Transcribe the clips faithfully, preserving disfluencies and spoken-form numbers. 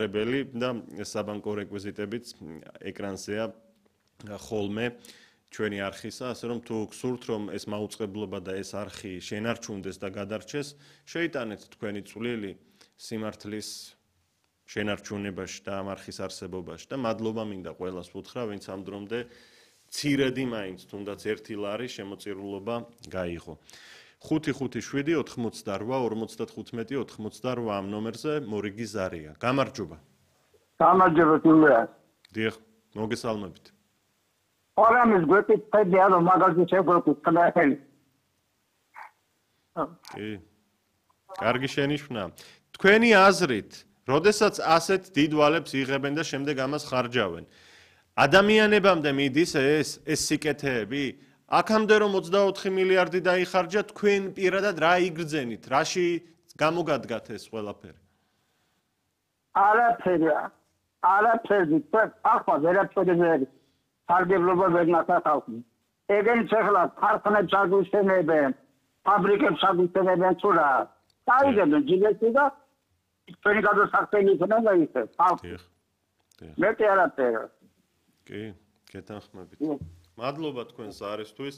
რებელი და საბანკო რეკვიზიტებიც ეკრანზეა ხოლმე ჩვენი არხისა, ასე რომ თუ გსურთ რომ ეს მაუწყებლობა და ეს არხი შენარჩუნდეს და გადარჩეს, შეიტანეთ თქვენი წვლილი სიმართლის შენარჩუნებაში და ამ არხის არსებობაში და მადლობა მინდა ყველას ვუთხრა, ვინც ამ დრომდე ცირედი მაინც თუნდაც ერთი ლარი შემოწირულობა გაიღო. ხუთი ხუთი შვიდი ოთხმოცდარვა ორმოცდათხუთმეტი ოთხმოცდარვა ამ ნომერზე მორიგი ზარია. გამარჯობა. გამარჯობა თუმცა. დიახ, მოგესალმებით. ორამის გვერდით ფედია რომ მაგალითად შეგვეკვით ხნახელი. კი. კარგი შენიშვნა. თქვენი აზრით, როდესაც ასეთ დიდ ვალებს იღებენ და შემდეგ ამას ხარჯავენ, ადამიანებამდე მიდის ეს ეს სიკეთეები? აქამდე რომ ოცდაოთხი მილიარდი დაიხარჯა, თქვენ პირადად რა იგრძენით? რაში გამოგადგათ ეს ყველაფერი? არაფერი. არაფერი. ახლა ვერაფერი ვერ სარგებლობა ვერ ნახავთ. ეგენიც ახლა ქარხნებს აგუშენებენ, ფაბრიკებს აგუშენებენ თუ რა. დაიგებენ ჯილეთი და თქვენი გადასახდელი იქნება ისე. დიახ. დიახ. მეტი არაფერი. კი, გეთანხმებით. მადლობა თქვენს არისთვის.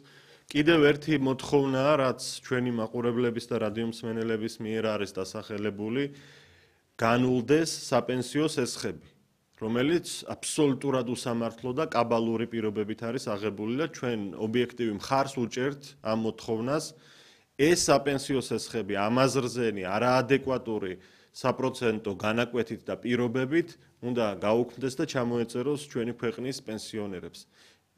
კიდევ ერთი მოთხოვნაა, რაც ჩვენი მაყურებლების და რადიომსმენელების მიერ არის დასახელებული, განულდეს საპენსიო სესხები, რომელიც აბსოლუტურად უსამართლო და კაბალური პირობებით არის აღებული და ჩვენ ობიექტივი მხარს უჭერთ ამ მოთხოვნას. ეს საპენსიო სესხები ამაზრზენი, არაადეკვატური საპროცენტო განაკვეთით და პირობებით უნდა გაუქმდეს და ჩამოეწეროს ჩვენი ქვეყნის პენსიონერებს.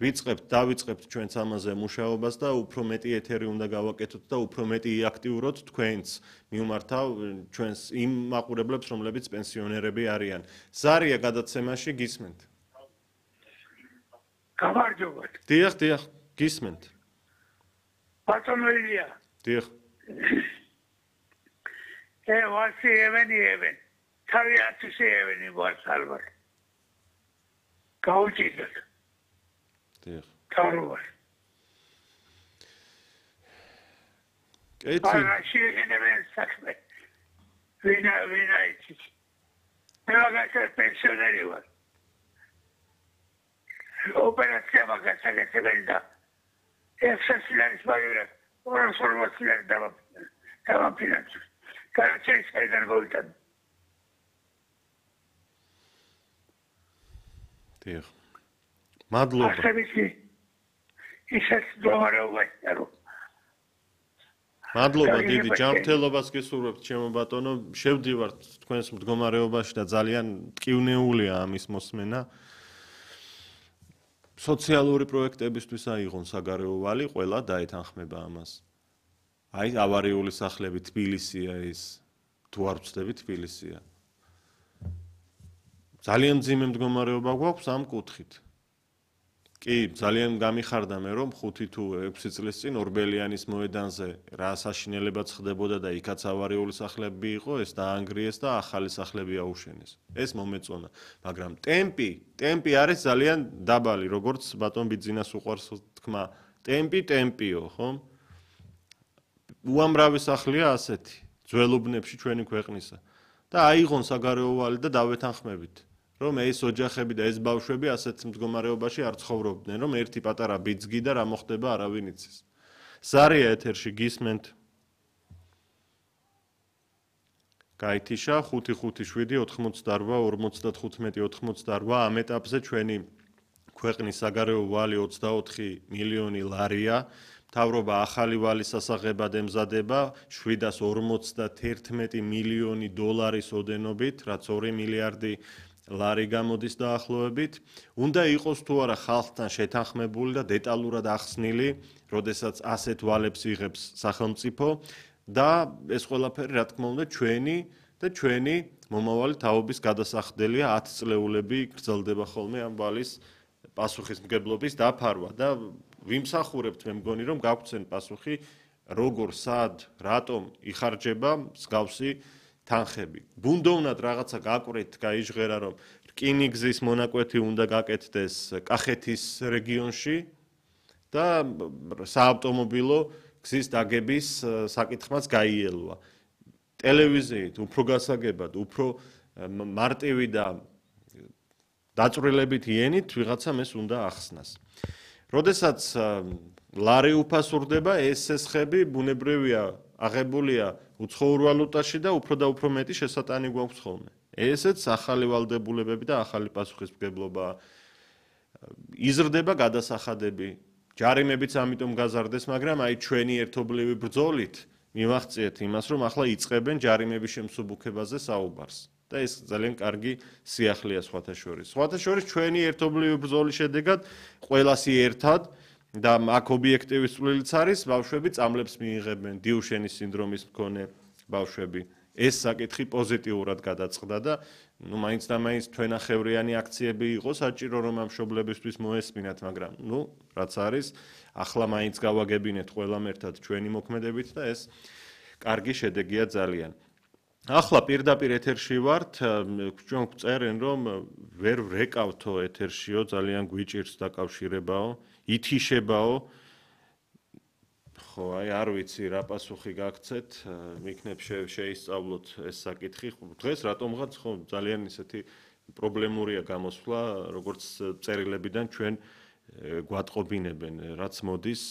ვიწყებთ, დავიწყებთ ჩვენც ამაზე მუშაობას და უფრო მეტი ეთერი უნდა გავაკეთოთ და უფრო მეტი იაქტიუროთ თქვენც მიმართავ ჩვენს იმ მაყურებლებს, რომლებიც პენსიონერები არიან. ზარია გადაცემაში გისმენთ. გამარჯობა. დიახ, დიახ, გისმენთ. ბატონო ილია. დიახ. ე ვასი ევენი ევენ. თავი ათასი ევენი ვასალბარ. გაუჭიდოთ. დიახ. თავრობას. კეთილი. არა შეიძლება საქმე. ვინა ვინა იცით. მეგაჩა პენსიონერი ვარ. ოპერაცია მაგასაკეთებელი და ექვსი ლარის მაგერად ორას ორმოცი ლარი დავაფინანსებ. გარჩევის საიდან მოვიტან. დიახ. მადლობა. ასებიცი ისეთ მდგომარეობაში არო. მადლობა დიდი ჯანმრთელობას გესურვებთ ჩემო ბატონო. შევდივართ თქვენს მდგომარეობაში და ძალიან ტკივნეულია ამის მოსმენა. სოციალური პროექტებისთვის აიღონ საგარეო ვალი, ყველა დაეთანხმება ამას. აი ავარიული სახლები თბილისია ის, თუ არ ვცდები თბილისია. ძალიან მძიმე მდგომარეობა გვაქვს ამ კუთხით. კი, ძალიან გამიხარდა მე რომ ხუთი თუ ექვსი წლის წინ ორბელიანის მოედანზე რა საშინელებაც ხდებოდა და იქაც ავარიული სახლები იყო, ეს დაანგრიეს და ახალი სახლები აუშენეს. ეს მომეწონა, მაგრამ ტემპი, ტემპი არის ძალიან დაბალი, როგორც ბატონ ბიძინას უყვარს თქმა. ტემპი, ტემპიო, ხო? უამრავი სახლია ასეთი, ძველუბნებში ჩვენი ქვეყნისა. და აიღონ საგარეო ვალი და დავეთანხმებით. რომ ეს ოჯახები და ეს ბავშვები ასეთ მდგომარეობაში არ ცხოვრობდნენ, რომ ერთი პატარა ბიძგი და რა მოხდება არავინ იცის. ზარია ეთერში გისმენთ. გაითიშა ხუთი ხუთი შვიდი ოთხმოცდარვა ორმოცდათხუთმეტი ოთხმოცდარვა ამ ეტაპზე ჩვენი ქვეყნის საგარეო ვალი ოცდაოთხი მილიონი ლარია. მთავრობა ახალი ვალის სასაღებად ემზადება შვიდას ორმოცდაერთმეტი მილიონი დოლარის ოდენობით, რაც ორი მილიარდი ლარი გამოდის დაახლოებით. უნდა იყოს თუ არა ხალხთან შეთანხმებული და დეტალურად ახსნილი, როდესაც ასეთ ვალებს იღებს სახელმწიფო და ეს ყველაფერი რა თქმა უნდა ჩვენი და ჩვენი მომავალი თაობის გადასახდელია ათწლეულები გრძელდება ხოლმე ამ ვალის პასუხისმგებლობის დაფარვა და ვიმსახურებთ მე მგონი რომ გაგვცენ პასუხი როგორ სად რატომ იხარჯება მსგავსი თანხები. ბუნდოვნად რაღაცა გაკვეთ, გაიჟღერა რომ რკინიგზის მონაკვეთი უნდა გაკეთდეს კახეთის რეგიონში და საავტომობილო გზის დაგების საკითხმაც გაიელვა. ტელევიზიით უფრო გასაგებად, უფრო მარტივი და დაწვრილებით იენით ვიღაცამ ეს უნდა ახსნას. როდესაც ლარი უფასურდება, ეს ესხები ბუნებრივია აღებულია უცხოურ ვალუტაში და უფრო და უფრო მეტი შესატანი გვაქვს ხოლმე. ესეც ახალი ვალდებულებები და ახალი პასუხისმგებლობა იზრდება გადასახადები. ჯარიმებიც ამიტომ გაზარდეს, მაგრამ აი ჩვენი ერთობლივი ბრძოლით მივახციეთ იმას, რომ ახლა იწყებენ ჯარიმების შემსუბუქებაზე საუბარს. და ეს ძალიან კარგი სიახლეა სხვათა შორის. სხვათა შორის ჩვენი ერთობლივი ბრძოლის შედეგად ყველასი ერთად და აქ ობიექტივის წვლილიც არის, ბავშვები წამლებს მიიღებენ, დიუშენის სინდრომის მქონე ბავშვები. ეს საკითხი პოზიტიურად გადაწყდა და ნუ მაინც და მაინც თვენახევრიანი აქციები იყო საჭირო, რომ ამ მშობლებისთვის მოესმინათ, მაგრამ ნუ რაც არის, ახლა მაინც გავაგებინეთ ყველამ ერთად ჩვენი მოქმედებით და ეს კარგი შედეგია ძალიან. ახლა პირდაპირ ეთერში ვართ, ჩვენ წერენ, რომ ვერ ვრეკავთო ეთერშიო, ძალიან გვიჭირს დაკავშირებაო, ითიშებაო. ხო, აი არ ვიცი რა პასუხი გაგცეთ, მიქნებ შეისწავლოთ ეს საკითხი. დღეს რატომღაც ხო ძალიან ისეთი პრობლემურია გამოსვლა, როგორც წერილებიდან ჩვენ გვატყობინებენ, რაც მოდის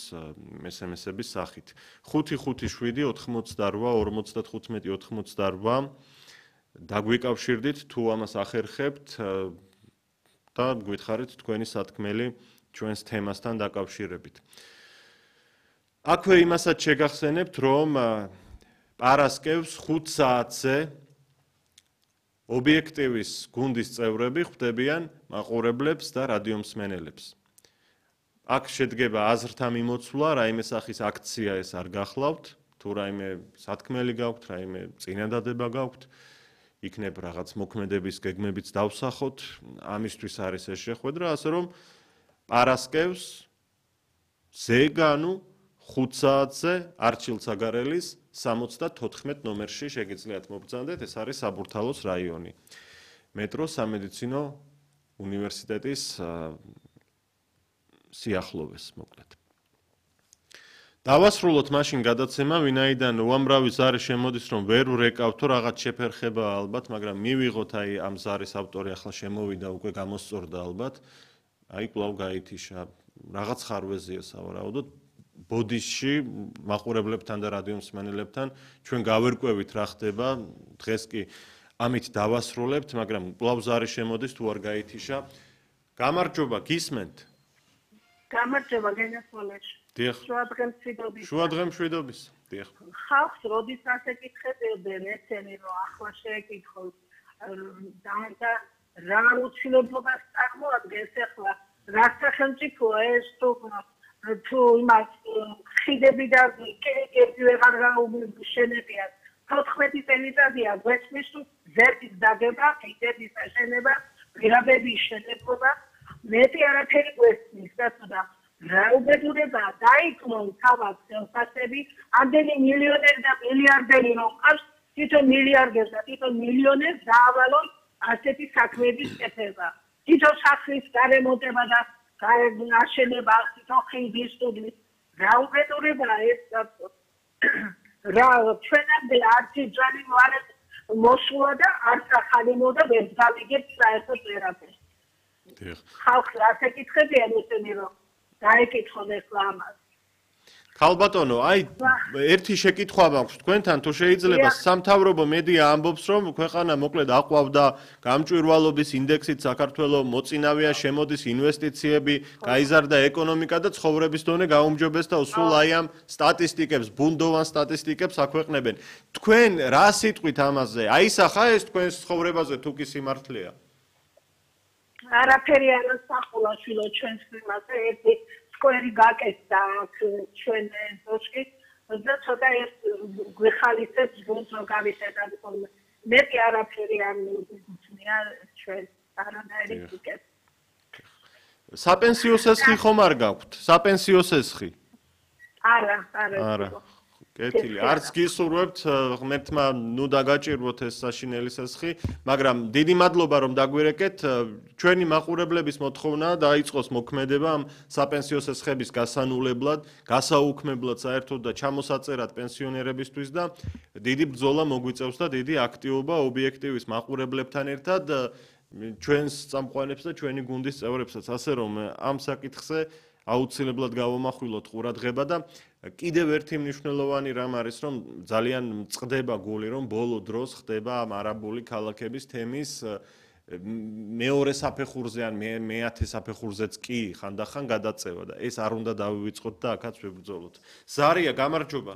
ეს ემ ესების სახით. ხუთი ხუთი შვიდი ოთხმოცდარვა ორმოცდათხუთმეტი ოთხმოცდარვა დაგვიკავშირდით თუ ამას ახერხებთ და გვითხარით თქვენი სათქმელი ჩვენს თემასთან დაკავშირებით. აქვე იმასაც შეგახსენებთ, რომ პარასკევს ხუთ საათზე ობიექტივის გუნდის წევრები ხვდებიან მაყურებლებს და რადიომსმენელებს. აქ შედგება აზრთა მიმოცვლა, რაიმე სახის აქცია ეს არ გახლავთ, თუ რაიმე სათქმელი გაქვთ, რაიმე წინადადება გაქვთ, იქნებ რაღაც მოქმედების გეგმებიც დავსახოთ, ამისთვის არის ეს შეხვედრა, ასე რომ პარასკევს ზეგანუ ხუთ საათზე არჩილ ცაგარელის სამოცდათოთხმეტ ნომერში შეგიძლიათ მობრძანდეთ, ეს არის საბურთალოს რაიონი. მეტრო სამედიცინო უნივერსიტეტის სიახლოვეს მოკლედ. დავასრულოთ მაშინ გადაცემა, ვინაიდან უამრავი ზარი შემოდის, რომ ვერ ვრეკავთო, რაღაც შეფერხება ალბათ, მაგრამ მივიღოთ აი ამ ზარის ავტორი ახლა შემოვიდა, უკვე გამოსწორდა ალბათ. აი კვლავ გაითიშა, რაღაც ხარვეზია სავარაუდოდ. ბოდისში მაყურებლებთან და რადიომსმენელებთან ჩვენ გავერკვევით რა ხდება, დღეს კი ამით დავასრულებთ, მაგრამ კვლავ ზარი შემოდის, თუ არ გაითიშა. გამარჯობა, გისმენთ? გამარჯობა, გენასვალეშ. დიახ. შუადღე მშვიდობის. შუადღე მშვიდობის. დიახ. ხალხს როდის ასე კითხებდნენ, ესენი რომ ახლა შეეკითხოს და რა უცილებლობას წარმოადგენს ახლა რა სახელმწიფოა ეს თუ თუ იმას ხიდები და კერები ვეღარ გაუმშენებიათ. თოთხმეტი წელიწადია გვესმის თუ ზეთის დაგება, ხიდების აშენება, პირაბების შელებობა, მეტი არაფერი გვესმის და თუნდა რა უბედურებაა დაიქმონ თავად ხელფასები, ამდენი მილიონერი და მილიარდერი რომ ყავს, თვითონ მილიარდერს და თვითონ მილიონერს დაავალონ ასეთი საქმეების კეთება. თვითონ სახლის გარემონტება და აშენება, თვითონ ხიდის სტუდიის. რა უბედურებაა ეს რა ჩვენამდე არც იძალი მოარეთ მოსულა და არც ახალი მოდა ვერ გავიგებთ საერთოდ ვერაფერს. ხალხს ასე კითხებიან ესენი რომ დაეკითხონ ახლა ამას. ქალბატონო, აი ერთი შეკითხვა მაქვს თქვენთან, თუ შეიძლება სამთავრობო მედია ამბობს, რომ ქვეყანა მოკლედ აყვავდა გამჭვირვალობის ინდექსით საქართველოს მოწინავეა, შემოდის ინვესტიციები, გაიზარდა ეკონომიკა და ცხოვრების დონე გაუმჯობესდა, სულ აი ამ სტატისტიკებს, ბუნდოვან სტატისტიკებს აქვეყნებენ. თქვენ რა სიტყვით ამაზე? აისახა ეს თქვენს ცხოვრებაზე თუ კი სიმართლეა? არაფერი არ ასახულა შვილო ჩვენს იმაზე, ერთი სკვერი გაკეთდა აქ ჩვენ ზოშკი და ცოტა ეს გვეხალისებს გუნდს რომ გავიხედავ ხოლმე. მეტი არაფერი არ მიგუცნია ჩვენ არანაირი კეთ. საპენსიო სესხი ხომ არ გაქვთ? საპენსიო სესხი? არა, არა. არა. კეთილი, არც გისურვებთ ღმერთმა ნუ დაგაჭირვოთ ეს საშინელი სესხი, მაგრამ დიდი მადლობა რომ დაგვირეკეთ, ჩვენი მაყურებლების მოთხოვნა დაიწყოს მოქმედება ამ საპენსიო სესხების გასანულებლად, გასაუქმებლად საერთოდ და ჩამოსაწერად პენსიონერებისთვის და დიდი ბრძოლა მოგვიწევს და დიდი აქტივობა ობიექტივის მაყურებლებთან ერთად ჩვენს წამყვანებს და ჩვენი გუნდის წევრებსაც, ასე რომ ამ საკითხზე აუცილებლად გავამახვილოთ ყურადღება და კიდევ ერთი მნიშვნელოვანი რამ არის, რომ ძალიან წყდება გული, რომ ბოლო დროს ხდება ამ არაბული ქალაქების თემის მეორე საფეხურზე ან მეათე საფეხურზეც კი ხანდახან გადაწევა და ეს არ უნდა დავივიწყოთ და აქაც ვებრძოლოთ. ზარია, გამარჯობა.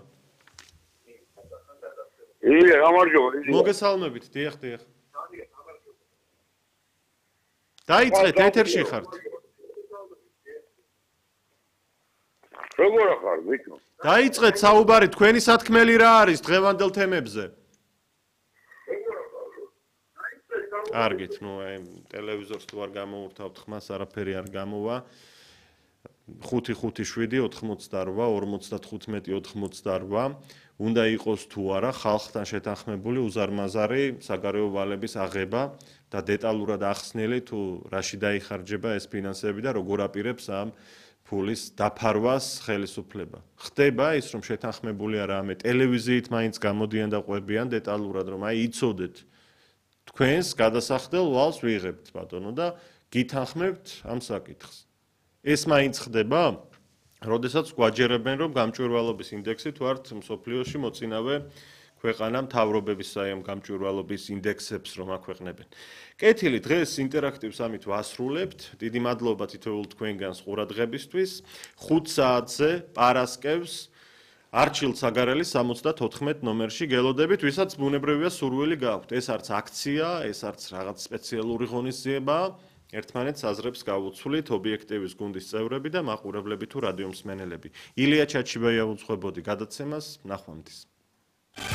ილია, გამარჯობა. მოგესალმებით, დიახ, დიახ. დაიწყეთ, ეთერში ხართ. როგორ ხარ, ვიქო? დაიწყეთ საუბარი, თქვენი სათქმელი რა არის დღევანდელ თემებზე? კარგით, ნუ აი ტელევიზორს თუ არ გამოურთავთ ხმას, არაფერი არ გამოვა. ხუთი ხუთი შვიდი ოთხმოცდარვა ორმოცდათხუთმეტი ოთხმოცდარვა უნდა იყოს თუ არა ხალხთან შეთანხმებული უზარმაზარი საგარეო ვალების აღება და დეტალურად ახსნილი თუ რაში დაიხარჯება ეს ფინანსები და როგორ აპირებს ამ ფულის დაფარვას ხელისუფლება. ხდება ის რომ შეთანხმებული არაა, ტელევიზიით მაინც გამოდიან და ყვებიან დეტალურად რომ აი იცოდეთ თქვენს გადასახდელ ვალს ვიღებთ ბატონო და გითანხმებთ ამ საკითხს. ეს მაინც ხდება, როდესაც გვაჯერებენ რომ გამჭვირვალობის ინდექსი თუ არ მსოფლიოში მოწინავე ქვეყანა მთავრობების საიმ გამჭვირვალობის ინდექსებს რომ აქვეყნებენ. კეთილი, დღეს ინტერაქტივს ამით ვასრულებთ. დიდი მადლობა თითოეულ თქვენგანს ყურადღებისთვის. ხუთ საათზე პარასკევს არჩილ საგარელის სამოცდათოთხმეტ ნომერში გელოდებით, ვისაც ბუნებრივია სურვილი გაქვთ. ეს არც აქცია, ეს არც რაღაც სპეციალური ღონისძიებაა. ერთმანეთს აზრებს გავუცვლით ობიექტივის გუნდის წევრები და მაყურებლები თუ რადიო მსმენელები. ილია ჩაჩიბაია უძღვებოდი გადაცემას, ნახვამდის.